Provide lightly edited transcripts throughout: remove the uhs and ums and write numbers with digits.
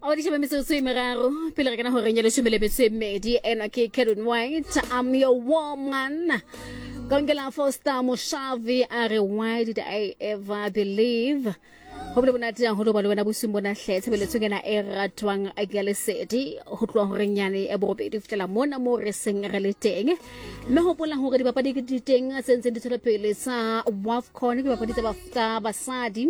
Awadiša ba metsotso e meraro pele re kana horeng ya leshome le metso e mmedi. Ena ke Karen White, I'm your woman. Kankela Foster Moshavi a re, why did I ever believe? Go bile monate haholo ba le wena bosing bona hle. Tshebeletsong ena e ratwang ya lesedi ho tloha horeng yane ya borobedi ho fihlela mona moo re seng re le teng. Mme hopola hore dipapadi ke di teng tse ntseng di tswela pele tsa WAFCON, ke dipapadi tsa basadi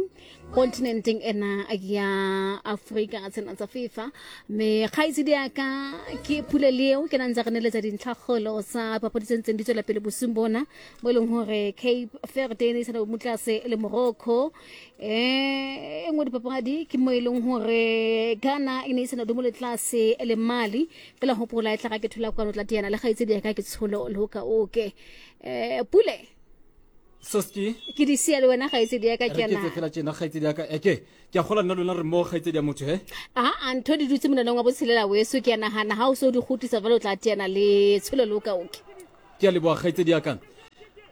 kontinenteng ena ya Afrika, tsena tsa FIFA. Mme kgaitsedi ya ka ke Pule Leo, ke na ntse re neletsa dintlhakgolo tsa papadi tse ntseng di tswela pele bosing bona, mo e leng hore Cape Verde e ne e sana motlase le Morocco. E nngwe dipapadi ke mo e leng hore Ghana e ne e sana dumo le tlase le Mali. Fela hopola e tla ga ke thola kwano tla teana le kgaitsedi ya ka ke Tsholo Loka Oke. Pule, Soski, ke di sia le wena kgaitsedi ya ka. Ke ana ke fela tjena kgaitsedi ya ka, eke ke a gola nna lona re mo kgaitsedi ya motho he. A ntho di dutse monaneng wa botshelela weso, ke a nagana ha o se o di kgutlisa jwale o tla teana le Tsholo Loka Oke. Ke a leboa kgaitsedi ya ka.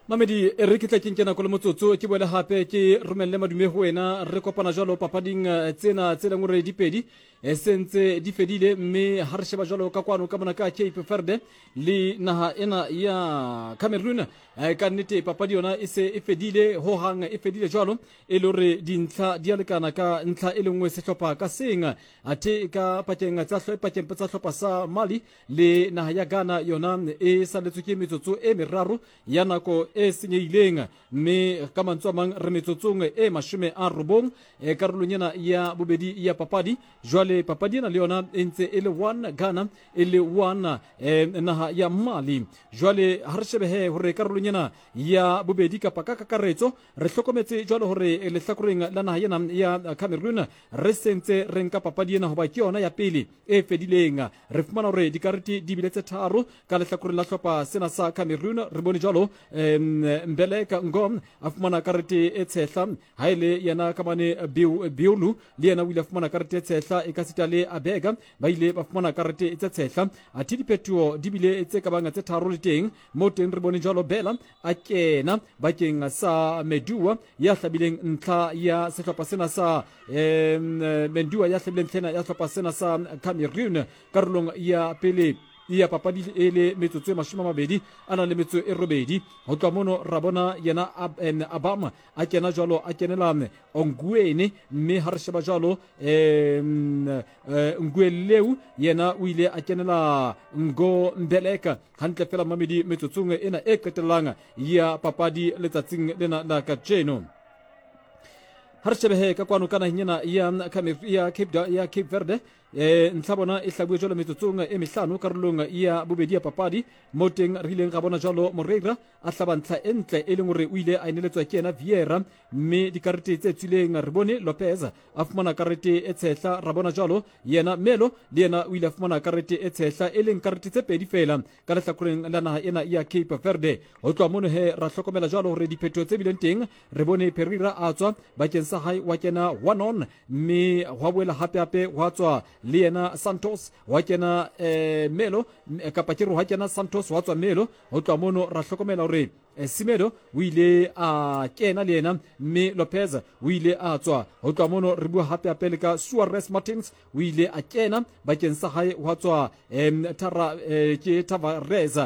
Mamedi, e re ke tla ke nke nako le motsotso ke boele gape ke romelele madume go wena. Re kopana jalo papading tsena tse leng gore di pedi e sentse di fedile, mme ha re sheba jalo ka kwano ka mona ka Cape Verde le naha ena ya Cameroon, ka nnete papadi yona e se e fedile hohang, e fedile jwalo e le gore dintlha di a lekana ka ntlha e le nngwe sehlopha ka seng. Athe ka pakeng tsa pakeng tsa hlopha sa Mali le naha ya Ghana yona e saletswe ke metsotso e meraro ya nako e senyehileng, mme ka mantswe a mang re metsotsong e 90 karolong ena ya bobedi ya papadi. Jwale papadi ena le yona e ntse e le 1 Ghana e le 1 naha ya Mali. Jwale ha re shebehe hore karolong ena ya bobedi kapa ka kakaretso re hlokometse jwalo hore lehlakoreng la naha ena ya Cameroon re sentse re nka papadi ena hoba ke yona ya pele e fedileng. Re fumana hore dikarete di bile tse tharo ka lehlakoreng la hlopha sena sa Cameroon. Re bone jwalo Mbeleka Ngom a fumana karete e tshehla, ha e le yena ka mane Biolu le yena o ile a fumana karete e tshehla, e ka sita le Abega ba ile ba fumana karete tse tshehla. Athe diphetoho di bile tse ka bang tse tharo le teng mo teng. Re bone jwalo Bela a kena bakeng sa Medua ya hlabileng ntlha ya sehlopha sena sa Mendua ya hlabileng ntlha ya sehlopha sena sa Cameroon karolong ya pele ya papadi e le metsotso e 28 a na le metso e robedi. Ho tloha mono ra bona yena Abama a kena jwalo, a kenela Onguene, mme ha re sheba jwalo Ngueleu yena o ile a kenela Ngo Mbeleka hantle fela mamedi metsotsong ena e qetellang ya papadi letsatsing lena la kajeno. Ha re shebehe ka kwano ka naheng ena ya Cape Verde, ntlha bona e hlabuwe jwalo metsotsong e mehlano karolong ya bobedi ya papadi, mo teng re ileng ra bona jwalo Moreira a hlaba ntlha e ntle e leng hore o ile a eneletswa ke yena Vieira. Mme dikarete tse tswileng re bone Lopez a fumana karete e tshehla, ra bona jwalo yena Melo le yena o ile a fumana karete e tshehla, e leng karete tse pedi fela ka lehlakoreng la naha ena ya Cape Verde. Ho tloha mono he ra hlokomela jwalo hore diphetoho tse bileng teng, re bone Pereira a tswa bakeng sa hae wa kena Wanon, mme hwa boela hape hape hwa tswa le yena Santos wa kena Melo, kapa ke re hwa kena Santos wa tswa Melo. Ho tloha mono ra hlokomela hore Semedo o ile a kena le yena, mme Lopez o ile a tswa. Ho tloha mono re bua hape hape le ka Suarez Martins o ile a kena bakeng sa hae wa tswa Tara, ke Tavares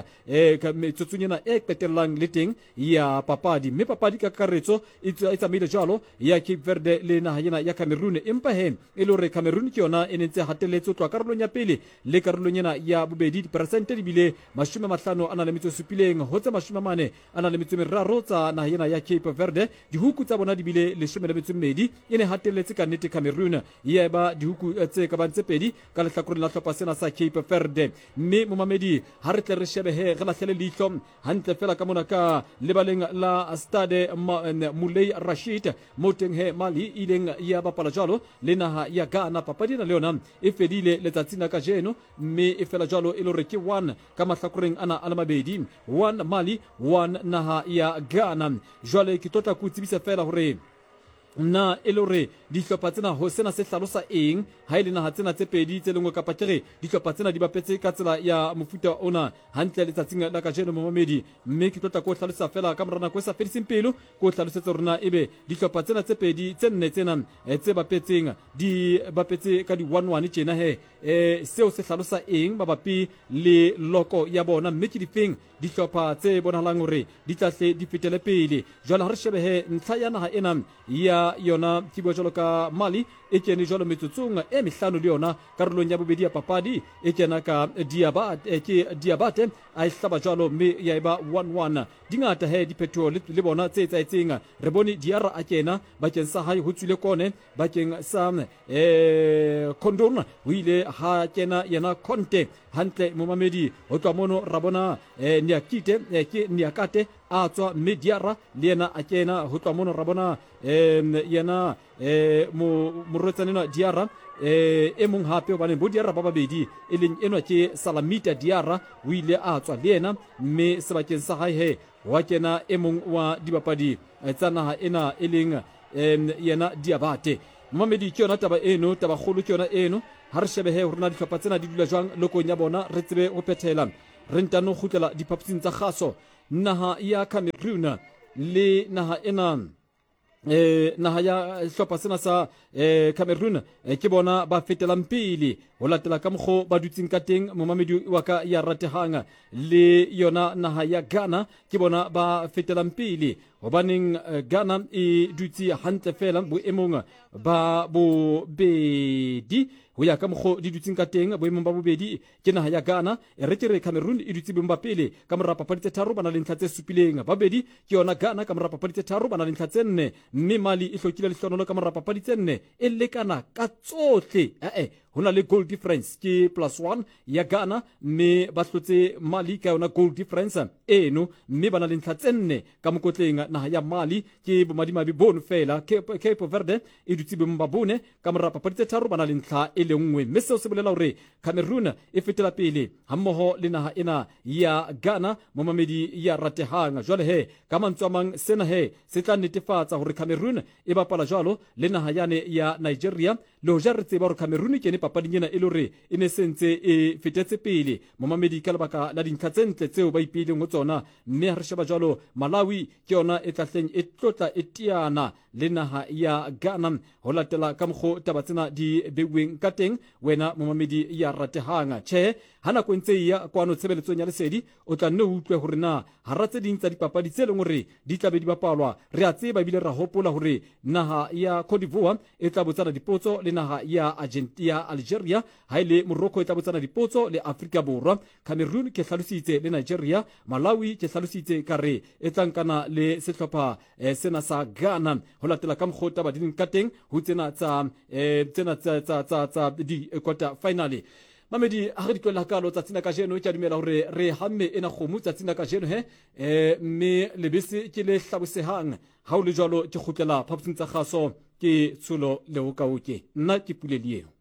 metsotsong ena e qetellang le teng ya papadi. Mme papadi ka kakaretso e tsamaile jwalo ya Cape Verde le naha ena ya Cameroon, empa he e le hore Cameroon ke yona e ne ntse hatelletse ho tloha karolong ya pele le karolong ena ya bobedi. Diperesente di bile 50 a na le metso e supileng ho tse 43 a na le metso e meraro tsa naha ena ya Cape Verde. Dihuku tsa bona di bile 12. E ne hatelletse ka nnete Cameroon, ya eba dihuku tse ka bang tse pedi ka lehlakoreng la hlopha sena sa Cape Verde. Mme momamedi, ha re tle re shebehe re lahlele leihlo hantle fela ka mona ka lebaleng la Stade Moulay Rashid, mo teng he Mali e ileng ya bapala jwalo le naha ya Ghana. Papadi ena le yona e fedile letsatsing la kajeno, mme e fela jwalo e le hore ke 1 ka mahlakoreng ana a le mabedi, 1 Mali, 1 naha ya Ghana. Jwale ke tlo tla ke o tsebisa fela hore Na e le hore dihlopha tsena ho sena se hlalosa eng ha e le naha tsena tse pedi tse lengwe kapa ke re dihlopha tsena di bapetse ka tsela ya mofuta ona hantle letsatsing la kajeno momamedi? Mme ke tlo tla ko hlalosa fela ka mora nako e sa fediseng pelo ko hlalosetse hore na ebe dihlopha tsena tse pedi tse nne tsena eh, tse bapetseng di bapetse ka di 1-1 tjena he eh, seo se hlalosa eng mabapi le loko ya bona mme ke difeng Dihlopha tse bonahalang hore di tla hle di fetele pele. Jwale ha re shebe he ntlha ya naha ena ya yona ke bua jwalo ka Mali e kene jwalo metsotsong e mehlano le yona karolong ya bobedi ya papadi e kena ka Diabate, eh, ke Diabate a e hlaba jwalo mme ya eba 1-1. Di ngata he diphetoho le, le bona tse etsahetseng. Re bone Diarra a kena bakeng sa hae ho tswile Kone bakeng sa eh, Condon ho ile ha kena yena Conte hantle momamedi ho tloha mono ra bona eh, Niakite eh, ke Niakate a tswa mme Diarra le yena a kena ho tloha mono ra bona eh, yena eh, morwetsana enwa Diarra eh, e mong hape hobane bo Diarra ba babedi e leng enwa ke Salamita Diarra o ile a tswa le yena mme sebakeng sa hae he wa kena e mong wa dibapadi eh, tsa naha ena e leng um yena Diabate. Momamedi, ke yona taba eno, tabakgolo ke yona eno. Ha re shebe he hore na dihlopha tsena di dula jwang lokong ya bona, re tsebe ho phethela. Re ntano kgutlela diphaposing tsa kgaso. Naha ya Cameroon le naha ena eh naha ya hlopha sena sa eh Cameroon eh, ke bona ba fetelang pele ho latela ka mokgo ba dutseng ka teng momamedi wa ka ya ratehang le yona naha ya Ghana ke bona ba fetelang pele Gobaneng Ghana e dutse hantle fela boemong ba bobedi go ya ka mokgo di dutseng ka teng boemong ba bobedi ke naga ya Ghana e re ke re Cameroon e dutse boemong ba pele ka mora papadi tse tharo ba na le ntlha tse supileng babedi ke yona Ghana ka mora papadi tse tharo ba na le ntlha tse nne mme Mali e hlokile lehlonolo ka mora papadi tse nne e lekana ka tsohle ee ho na le goal difference ke plus one ya Ghana mme ba hlotse Mali ka yona goal difference eno mme ba na le ntlha tse nne Ka mokotleng naga ya Mali ke bomadimabe bono fela. Cape, Cape Verde e dutse boemong ba bone ka mora papadi tse tharo ba na le ntlha e le nngwe, mme seo se bolela hore Cameroon e fetela pele hammoho le naha ena ya Ghana, momamedi ya ratehang. Jwale he, ka mantswe a mang, sena he se tla netefatsa hore Cameroon e bapala jwalo le naha yane ya Nigeria. Le hoja re tseba hore Cameroon e kene papading ena e le hore e ne se ntse e fetetse pele, momamedi, ka lebaka la dintlha tse ntle tseo ba ipeileng ho tsona. Mme ha re sheba jwalo, Malawi ke yona e tlahleng e tlotla e teana le naha ya Ghana ho latela ka mokgo taba tsena di beuweng ka teng. Wena momamedi ya ratehang, tjhe, ha nako e ntse e ya kwano tshebeletsong ya lesedi, o tla nne o utlwe hore na hara tse ding tsa dipapadi tse leng hore di tla be di bapalwa, re a tseba ebile ra hopola hore naha ya Cote d'Ivoire e tla botsana dipotso le naha ya ya Algeria, ha e le Morocco e tla botsana dipotso le Afrika Borwa. Cameroon ke hlalositse le Nigeria, Malawi ke hlalositse ka re e tla nkana le sehlopha eh, sena sa Ghana ho latela ka mokgwa taba di leng ka teng ho tsena tsa eh, tsena tsa tsa tsa tsa di quarter finale. Mamedi ha re di tlohela kalo tsatsing la kajeno ke a dumela hore re hamme ena kgomo tsatsing la kajeno he eh, mme lebese ke le hlabosehang ha o le jwalo ke kgutlela phaposing tsa kgaso ke tsholo leokaoke nna ke pulelieo.